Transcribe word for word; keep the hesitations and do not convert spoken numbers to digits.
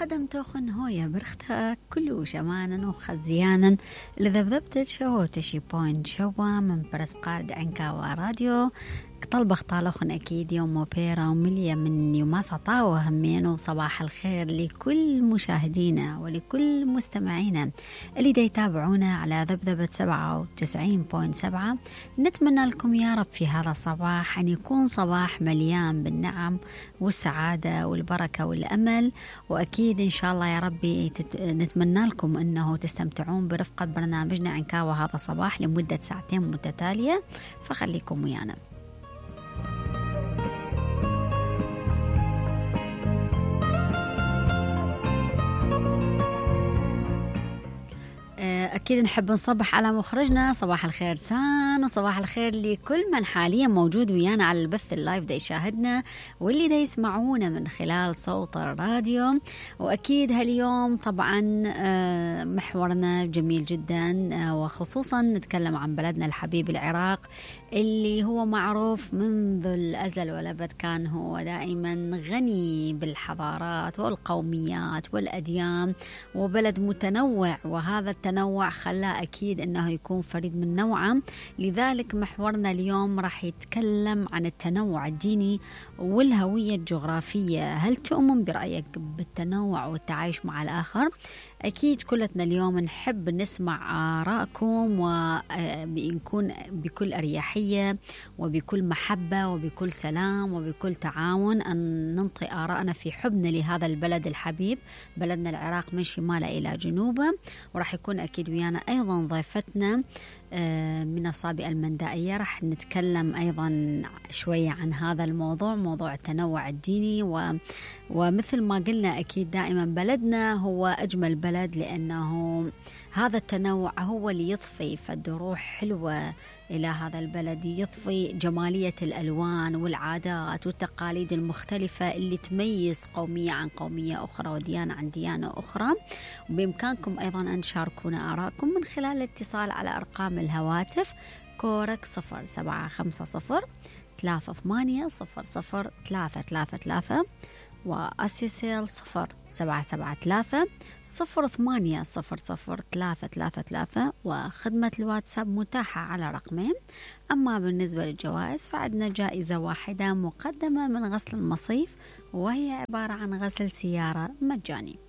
قدم توخن هويا برختها كله شمانا وخزيانا لذبذبت شو تشي بوينت شوا من برسقاد عنكاوا راديو طلبخ طالخن أكيد يوم موبيرا ومليا من يوماثا طاوة همين. وصباح الخير لكل مشاهدينا ولكل مستمعينا اللي دا يتابعونا على ذبذبة سبعة وتسعين بوينت سبعة. نتمنى لكم يا رب في هذا الصباح أن يكون صباح مليان بالنعم والسعادة والبركة والأمل، وأكيد إن شاء الله يا ربي نتمنى لكم أنه تستمتعون برفقة برنامجنا عنكاوا هذا الصباح لمدة ساعتين متتالية، فخليكم ويانا. أكيد نحب نصبح على مخرجنا صباح الخير سان، وصباح الخير لكل من حاليا موجود ويانا على البث اللايف دا يشاهدنا واللي دا يسمعونا من خلال صوت الراديو. وأكيد هاليوم طبعا محورنا جميل جدا، وخصوصا نتكلم عن بلدنا الحبيب العراق اللي هو معروف منذ الأزل والأبد، كان هو دائما غني بالحضارات والقوميات والأديان، وبلد متنوع، وهذا التنوع خلاه أكيد أنه يكون فريد من نوعه. لذلك محورنا اليوم راح يتكلم عن التنوع الديني والهوية الجغرافية. هل تؤمن برأيك بالتنوع والتعايش مع الآخر؟ أكيد كلتنا اليوم نحب نسمع آراءكم ونكون بكل أريحية وبكل محبة وبكل سلام وبكل تعاون أن ننطي آراءنا في حبنا لهذا البلد الحبيب، بلدنا العراق من شماله إلى جنوبه. وراح يكون أكيد ويانا أيضا ضيفتنا من الصابئة المندائية، راح نتكلم أيضا شوية عن هذا الموضوع، موضوع التنوع الديني. و ومثل ما قلنا أكيد دائما بلدنا هو أجمل بلد، لأنه هذا التنوع هو اللي يضفي فد روح حلوة إلى هذا البلد، يضفي جمالية الألوان والعادات والتقاليد المختلفة اللي تميز قومية عن قومية أخرى وديانة عن ديانة أخرى. وبإمكانكم أيضا أن تشاركونا آراءكم من خلال الاتصال على أرقام الهواتف كورك صفر سبعة خمسة صفر ثلاثة ثمانية صفر صفر ثلاثة ثلاثة ثلاثة، وأسيسيل صفر سبعة سبعة ثلاثة صفر ثمانية صفر صفر ثلاثة ثلاثة ثلاثة، وخدمة الواتساب متاحة على رقمين. أما بالنسبة للجوائز فعندنا جائزة واحدة مقدمة من غسل المصيف، وهي عبارة عن غسل سيارة مجاني.